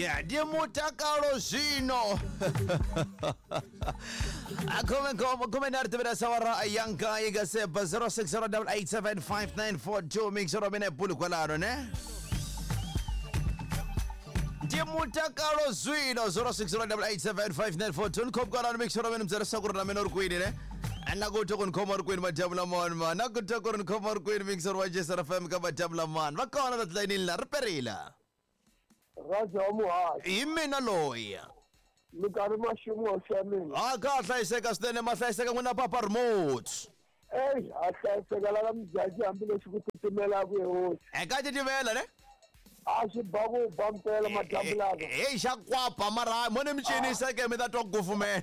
Ya ndi mutakalo zwino. Khume nkombo khume nharhu tivela sawara ya nkaye ka seba 0608875942 mixero mina hi bulu kwalano ne ndi mutakalo zwino 0608875942 ni khomi kwalano mixero mina mi byela ku ri na mina u ri kwini ne na ku twa ku ni khoma ri kwini madyambu lamawani ma na ku twa ku ri ni khoma ri kwini mixero wa jesr fm ka madyambu lamawani va kona la tilayinini la ri perile. Raja wa muhaxi. Hi mina loyi. Minkarhi maximo xa mina. A ka hlayiseka swinene ma hlayiseka n'wina papa remote. Ey, a hlayiseka la ka mujaji hambileswi ku titimelaka ye hosi. Eka titimela ne? A swi ba ku ba mpela madyambu laka. Heyi xa kwapa mara mo ni mi cinisa ke mi ta twa ku kufumela.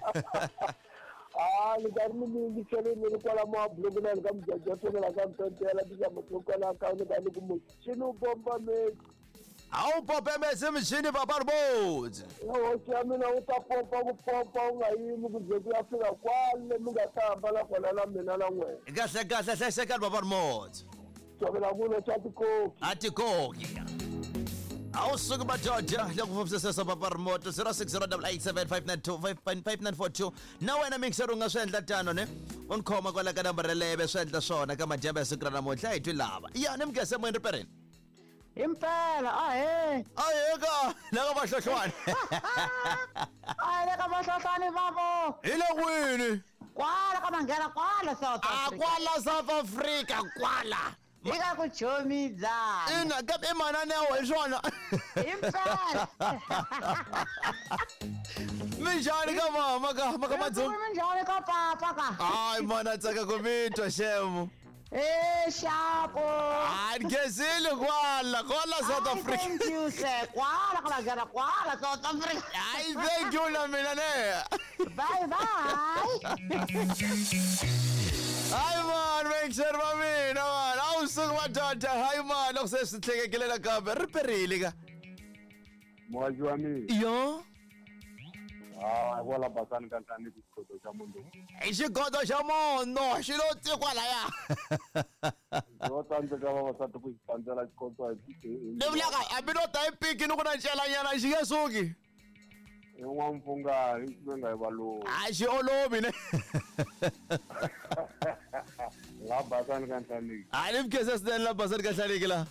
A ni karhi ni mi yingisele ni ri kwala mabuloko na le ka mujaji wa tsonela ka mpempela tizama to kwala ka ni ka ni ku muchini wu bomba mesi. A wu pope mesi muchini papa remote. Hosi ya mina wu ta pompa ku pompa wu nga yimi ku ze ku ya fika kwale mi nga ta hambana kona na mina na n'wena. Kahle kahle hlayisekani papa remote. Tshovela kulo xa tikoki. A tikoki. A wu suki madoda loko fambisesa papa remote 0608875942 na wena mixer u nga swi endla tano ne u ni khoma kwala ka nambara leve swi endla swona ka madyambu ya siku ra namuntlha hi twi lava ya ni mugese moyeni ripereni. Impela ahe. Ahe ka la ka vahlohlwane. Ahe le ka vahlohlwane vavo. Hi le kwini? Kwala ka manghena kwala South Africa. A kwala South Africa kwala. Hi ka ku chomidzana. Ina kambe i mananeo hi swona. Impela. Minjhani ka mama ka maka madzungu? Minjhani ka papa ka? Hayi mana tsaka ku mi twa xemo. Eh, xapo. Hayi ngezile kwala kwala South Africa. Thank you sir. Kwala ka manghena kwala South Africa. Hayi thank you na mina ne. Bye bye. Hayi man, make va mina man. A wu suki madoda. Hayi man, loko se swi tlhekekile nakambe ri perile ka. Muhaxi wa mina. Yo. Ah, kwala basani ka ntlhanu xigodo xa munhu. I xigodo xa munhu xi lo tsi kwalaya. Yo tsandzeka vavasati ku xi tsandzela xikotso hi Ni vulaka hambi no ta hi piki ni ku na ncelanyana xi nge suki. I n'wampfungani xi nga hi valungu. A xi olovi ne. La basani ka nhlaniki. A ni mukhensa swinene la basani ka nhlaniki la.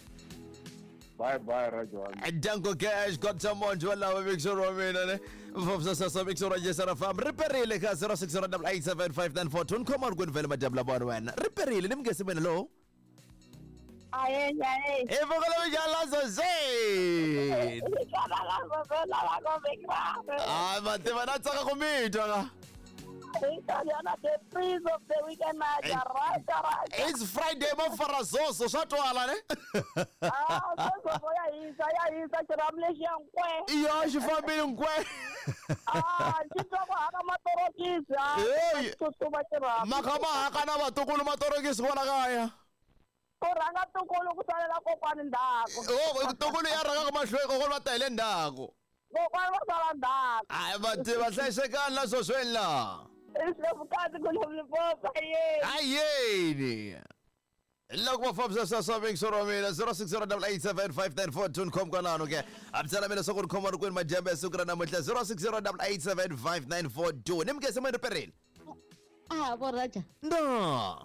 Bye bye Raja wa mina. Danko Cash got someone to allow mixer wa mina ne. Mfafisa mixer wa Jesara Farm. Riperile ka 0608875942. Nkhoma ri kwini vele madyambu lama wena. Riperile ni mukhensi mina lo. Aye, aye. I voko la mijala zoze. Hayi mativa na tsaka ku mi twa ka. The freeze of the weekend, Raja, Raja, Raja. It's Friday mo farazoso swa twala ne. Ah, sweswo ya hisa, ya hisa xirhamu lexiya nkwe. Iyo xi fambile nkwe. Ah, xi twa ku haka matorokisi, ah. Hey. Tsutsuma xirhamu. Maka ma haka na vatukulu matorokisi kwala kaya. Ku rhanga tukulu ku salela kokwani ndzhaku. Oh, tukulu ya rhanga mahlweni kokwana va ta hi le ndzhaku. Kokwani va sala ndzhaku. Hayi vativa hlayisekani la swosweni la. Vukati ku Limpopo yeni. Ayeni. Loko va fambisa sweswo mixer wa mina 0608875942 nikhoma kwalano ke. A mi tsala mina swa ku ri khoma ri kwini madyambu ya siku ra namuntlha 0608875942. Ni mukhense moyeni riperile. Ah, vo Raja. No.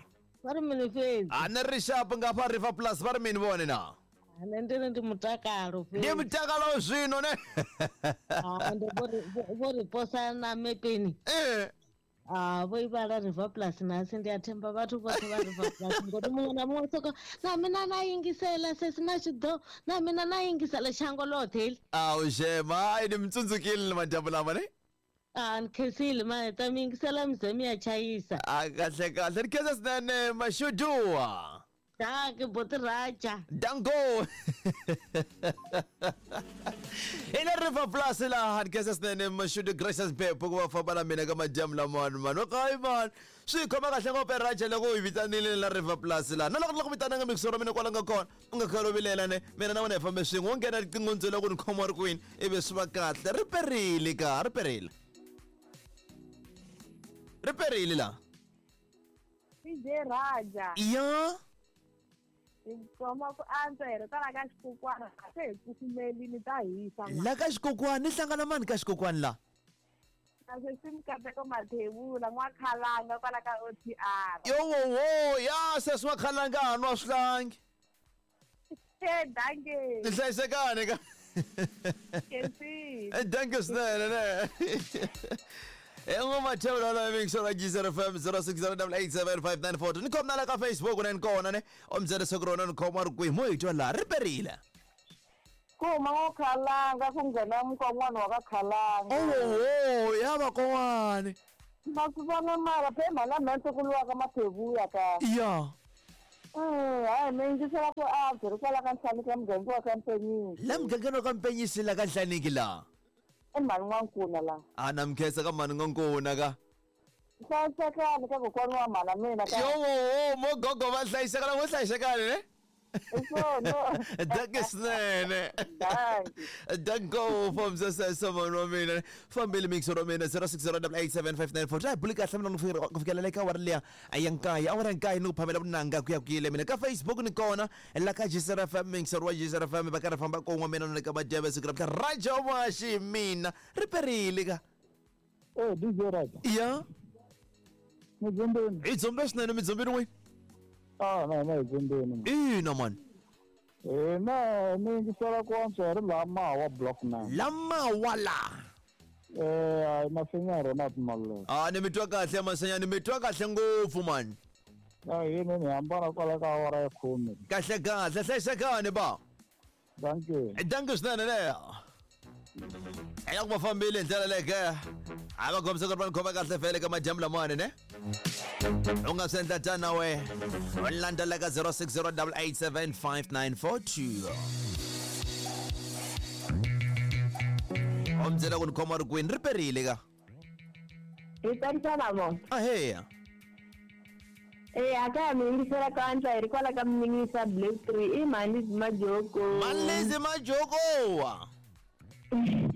Va ri mini fhedzi. A ni ri xapu nga fa River Plus va ri mini vone na. Nṋe ndi ri ndi mutakalo Ndi fhedzi. mutakalo zwino ne. Ah, ende vho ri posa na mepeni. Eh. Ah, vho i vhala River Plus nasi ndi a themba vhathu vhoṱhe vha River Plus ngori muṅwe na muṅwe soko na mina na yingisela sesi na tshi ḓo na mina na yingisela shango ḽoṱhe heḽi. Awu shema, hayi ni mi tsundzukile ni madyambu lama ne. Ah, ni khensile ma ta mi yingisela mi ze mi ya chayisa. A kahle kahle ni khensa swinene mashuduwa. Dankie boti Raja. Danko. Hi le River Plus laha ni khensa swinene mashudu Gracious Pepo ku va famba na mina ka madyambu lamawani mani. Okay man. Swi khoma kahle ngopfu Raja loko u hi vitanile la River Plus laha. Na loko ni la ku vitananga mixer wa mina kwala nga kona u nga khale u vilela ne mina na wena hi fambe swin'we wo nghena riqingho ndzela ku ni khoma ri kwini ivi swi va kahle. Ri perile ka ri perile. Ri perile la. DJ Raja. Ya. Hi khoma ku antswa hi ri kwala ka xikukwana a se hi kufumelini ta hisa. La ka xikokwani ni hlangana mani ka xikokwani la? Kasi Mikateko Mathebula n'wakhalanga kwala ka OTR. Yowowo ya sesi n'wakhalanga ha nwa swihlangi. E danke. Ni hlayisekani ka. Khensile. Thank you swinene ne. Engomathebula la mixer Geyser FM 0608875942 ni khoma na la ka Facebook ne ni kona ne o mi byela leswaku rona ni khoma ri kwihi mo hi twa laha ri perile. Ku huma n'wakhalanga ku nghena mukon'wana wa ka khalanga. Owowo ya vakon'wani. Ma swi vona mara phe mhana mhentse ku lwa ka Mathebula ka. Ya. Hayi mi yingisela ku antswa ri kwala ka ntlhanu ka muganga wa ka Mpenyisi. La mugangeni wa ka Mpenyisi la ka Nhlaniki la. I mhani N'wankuna la. A na mi khensa ka mhani N'wankuna ka. Hlayisekani ka kokwani wa mhana mina ka. Yowowo mo gogo va hlayiseka la vo hlayisekani ne. Hi swona. Danke swinene. Dankie. Danko from sesese mhani wa mina fambile mixer wa mina 0608875942 a hi buli kahle mina ku fikela le ka awara liya ya nkaye awara ya nkaye ni ku phamela vunanga ku ya ku yile mina ka Facebook ni kona la ka Geyser FM mixer wa Geyser FM va karhi famba kon'we mina na le ka madyebe siku ra mhla Raja Mashi mina ri perile ka. Eh DJ Raja. Ya. Midzumbeni. Hi dzumbe swinene midzumbeni n'wini. Ah na na hi dzumbeni. Ina mani. Eh na ni yingisela ku antswa hi ri laha Mawa block 9. La Mawa la. Eh hayi Masenya Ronald Maluleke. Ah ni mi twa kahle Masenya ni mi twa kahle ngopfu mani. A hi ni hambana kwala ka awara ya khume. Kahle kahle hlayisekani ba. Dankie. Dankie swinene leyo. Hi loko va fambile hi ndlela leyo ke a va kombisa ku ri va ni khoma kahle fele ka madyambu lamawani ne u nga swi endla tani na we u landzela ka 0608875942 u mi byela ku ni khoma ri kwini ri perile ka. Hi tsarisa na vona. Aheya. Eh a ka ha mi yingisela ku antswa hi ri kwala ka Mninisa Black 3 i mhani Majoko. Mhani Majokowa.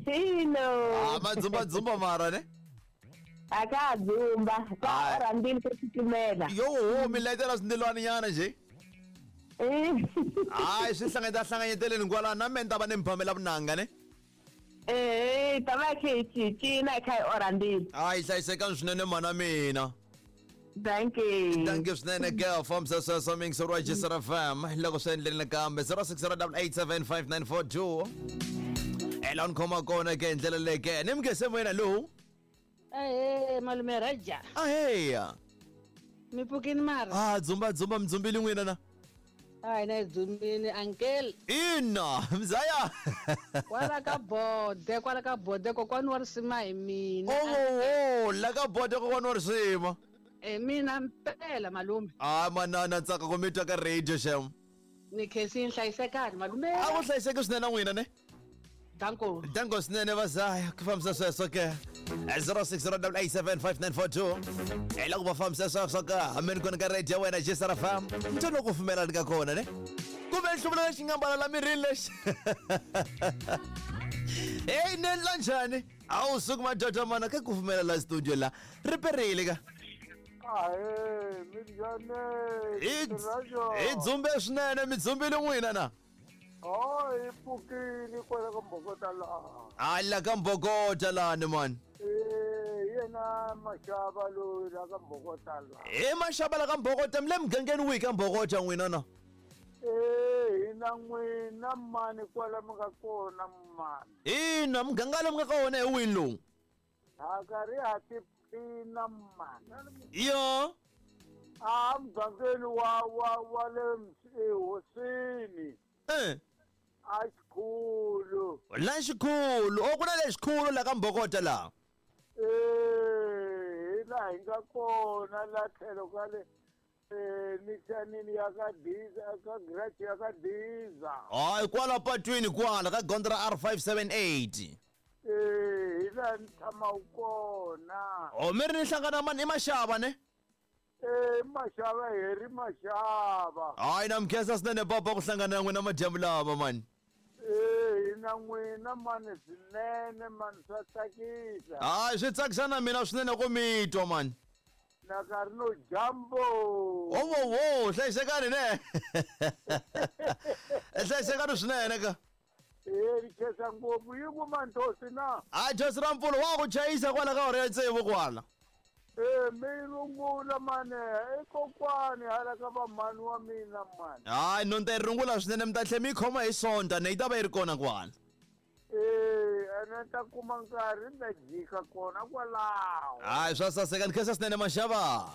Ino. Ah madzumba dzumba mara ne. A ka ha dzumba. Ka Hayi. rhandzile ku titimela. Yo ho mi layitela swindilwani nyana nje. Hayi swi hlanganyeta hlanganyeteleni kwala na me ni ta va ni mi phamela vunanga ne. Eh, ta va khe hi cincina hi kha hi orha ndzilo. Hayi hlayisekani swinene mhana mina. Dankie. Thank you swinene girl from sweswo mixer wa Geyser FM loko swi endleni nakambe 0608875942 ela ni khoma kona ke hi ndlela leyi ke ni mi moyena lowu. Ahee malume Raja. Aheya. Mi pfukini mara? Ah dzumba dzumba midzumbili n'wina na. A hina hi dzumbini uncle. Ina mzaya. Kwala ka bode kwala ka bode kokwani wa risima hi mina. Owowo la ka bode kokwani wa risima. E mina mpela malume. Ah manana ntsaka ku mi twa ka radio xem. Ni khensini hlayisekani malume. A ku hlayiseki swinene na n'wina ne. Danko. Danko swinene vazaya ku fambisa sweswo ke 0608875942 hi loko va fambisa sweswo ka hameni kona ka radio ya wena Geyser FM ntho loko pfumelani ka kona ne kumbe nhluvula lexi nga mbala la mirini lexi. Hey ni endla njhani a wu suki madoda mana ka ku pfumela la studio la ri perile ka. Ahee minjhani? Hi dzumbe swinene mi dzumbile n'wina na. Oh hi pfukile kwala ka Mbokota laha. A la ka Mbokota lani mani. Eh yena Mashava loyi la ka Mbokota laha. Hi Mashava la ka Mbokota mi le mugangeni wihi ka Mbokota n'wina na? Eh hina n'wina mani kwala mi nga kona mani. Ina muganga lowu mi nga ka wona hi wihi lowu? Ha karhi ha tiphina mani. Yo. A mugangeni wa wa wa le ehosini. Eh. A xikhulu. La xikhulu, o ku na le xikhulu la ka Mbokota la. Eh, hi laha hi nga kona la tlhelo ka le mixanini ya ka Diza ka garage ya ka Diza. Hayi kwala patwini kwala ka gondzo ra R578. Eh, hi laha ni tshamaka kona. O mi ri ni hlangana mani i Mashava ne? Eh, Mashava hi ri Mashava. Hayi na mi khensa swinene papa ku hlangana na n'wina madyambu lama mani. Eh, hina n'wina mani swinene mani swa tsakisa. Hayi swi tsakisa na mina swinene ku mi twa mani. Na karhi no jambo. Wo hlayisekani ne. Hlayisekani swinene ka. Eh, khensa ngopfu yi kuma nthosi na. A Josi ra mpfuno wa ku chayisa kwala ka hora ya tsevu kwala. Eh, mi rungula mane, i kokwani hala ka vamhani wa mina mani. Hayi no ni ta yi rungula swinene mi ta tlhela mi yi khoma hi Sonta ne yi ta va yi ri kona kwala. Eh, ene ni ta kuma nkarhi ni ta jika kona kwalaho. Hayi swa saseka ni khensa swinene maxava.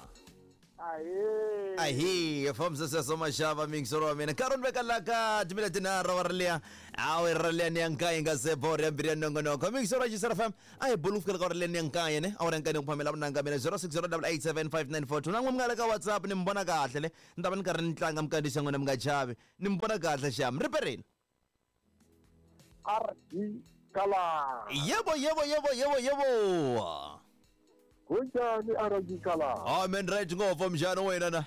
Ahee. Ahi fambisa sweswo maxava miyingiselo wa mina nkarhi ni veka la ka timila tinharhu wa ri liya awu ri liya ni ya nkaye nga se boro ya mbirhi ya nongonoko miyingiselo wa Xisera FM a hi bulu ku fikela ka ri liya ni ya nkaye ne awara ya nkaye ni ku phamela vunanga mina 0608875942 na n'we mi nga le ka WhatsApp ni mi vona kahle le ni ta va ni karhi ni tlanga mikandziyiso ya n'wina mi nga chavi ni mi vona kahle xam ri perini. RD Kala. Yebo yebo yebo yebo yebo. Kunjani RD Kala? Amen right ngopfu mjani wena na.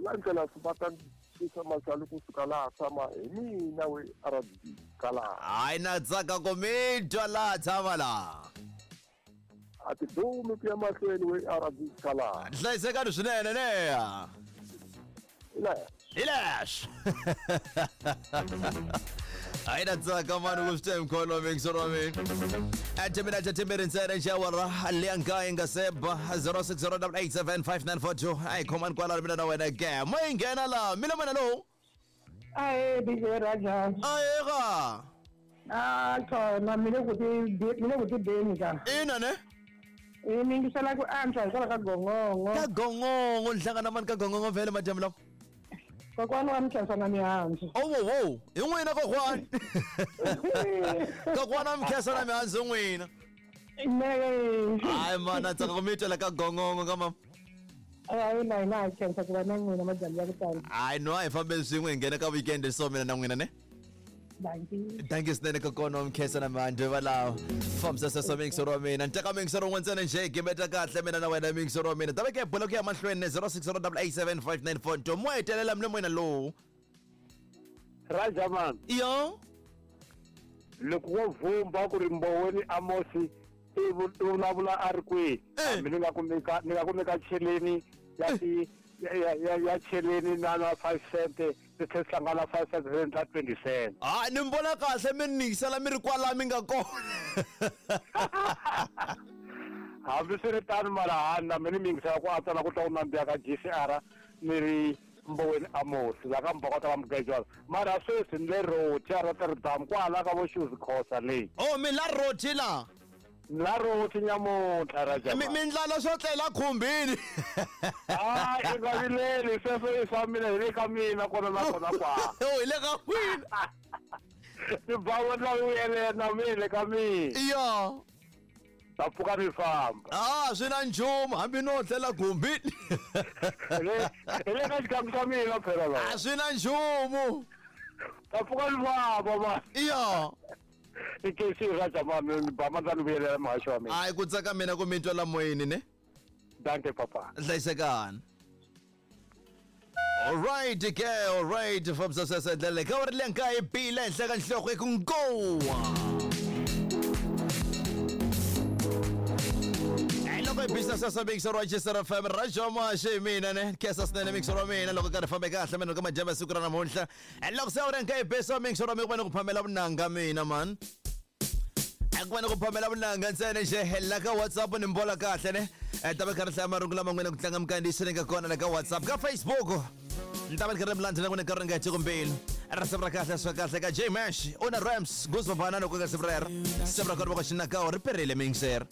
La ndlela swi va ta xisa masali kusuka laha tshama hi mina we RD Kala. Hayi na tsaka ku mi twa laha tshama laha. A ti dumi ku ya mahlweni we RD Kala. Hlayisekani swinene ne. Ila Hi leswo. Hayi na tsaka mani ku swi twa hi mkholo mixo wa mina. Atimina tatimbiri ntsena xawara leya nkaye nga seba 0608875942 ayi khomani kwalano mina na wena ke mo yi nghena laha mina mina lowu. Ahe DJ Raja. Aheka. Ah, thona mi le ku ti mi le ku tibeni ka. Ina ne. I mi yingisela ku antswa hikwalaho ka gongongo. Ka gongongo ni hlangana mani ka gongongo vhele madyambu lawa. Kokwana wa Mkhensa na mihandzu. Owowo hi n'wina kokwani. Kokwana wa Mkhensa na mihandzu n'wina. Ne. Hayi mana tsaka ku mi twela ka gongongo ka mama. Hayi na hina ha khensa ku va na n'wina madyambu ya ku tala. Hayi no a hi fambeni swin'we hi nghena ka weekend so mina na n'wina ne. Dankie. Thank you swinene kokwana wa Mkhensa na mihandzu valawo. Fambisa sweswo miyingiselo wa mina. Ni teka miyingiselo wun'we ntsena njhe gimeta kahle mina na wena miyingiselo wa mina. Ta veke hi bula ku ya mahlweni ne 0608875942 mo hetelela mi le moyeni lowu. Raja man. Yo. Loko wo vhumba ku ri Mboweni Amosi i vulavula a ri kwihi? Hambi ni nga kumeka ni nga kumeka cheleni ya ti ya cheleni na na 5 cent ti tlhela hlangana 5 cent ri endla 20 cent. Ah, ni mi vona kahle mi ni yingisela mi ri kwala mi nga kona. Hambi swi ri tano mara hani na mina ni mi yingisela ku antswa na ku twa ku nandziha ka GCR ni ri Mboweni Amosi la ka Mbokota va Mugejwana. Mara sweswi ni le Roti a Rotterdam kwala ka vo Shoes Khosa leyi. Oh, mi la Roti la. La Roti nyamuntlha Raja. Mi ndlala swo tlela khumbini. Ah, i nga vileli sweswo i swa mina hi le ka mina kona na kona kwa. Oh, hi le ka n'wina. Ni ba la vuyelela na mina le ka mina. Yo. Ta pfuka ni famba. Ah, swi na nchumu hambi no tlela khumbini. Hi le ka xikangu xa mina phela la. A swi na nchumu. Ta pfuka ni famba ma. Yo. I kesi Raja man ni ba mandla ni vuyelela muhaxi wa mina. Hayi ku tsaka mina ku mi twa la moyeni ne. Dankie papa. Hlayisekani. Alright ke, alright fambisa sweswo ndlela ka ri lenka hi bile henhla ka nhloko hi ku nkowa. Loko hi business sweswo mixer wa Xisera FM Raja Mashe hi mina ne khensa swinene mixer wa mina loko karhi fambe kahle mina ka madyambu ya siku ra namuntlha. Loko se wu ri nka hi besa mixer wa mina ku va ni ku phamela vunanga mina man. Ku va ni ku phamela vunanga ntsena nje la ka WhatsApp ni mi vona kahle ne. Ta va karhi hlaya marungu lama n'wina ku tlanga mikandziyiso leyi nga kona la ka WhatsApp ka Facebook. Ni ta va ni karhi mi landzela n'wina nkarhi nga heti mbilu. Risimu ra kahle swa kahle ka J Mash una Rams Goose Banana ku nga siku rero. Siku ra kona va ka xinakawo ri perile mixer.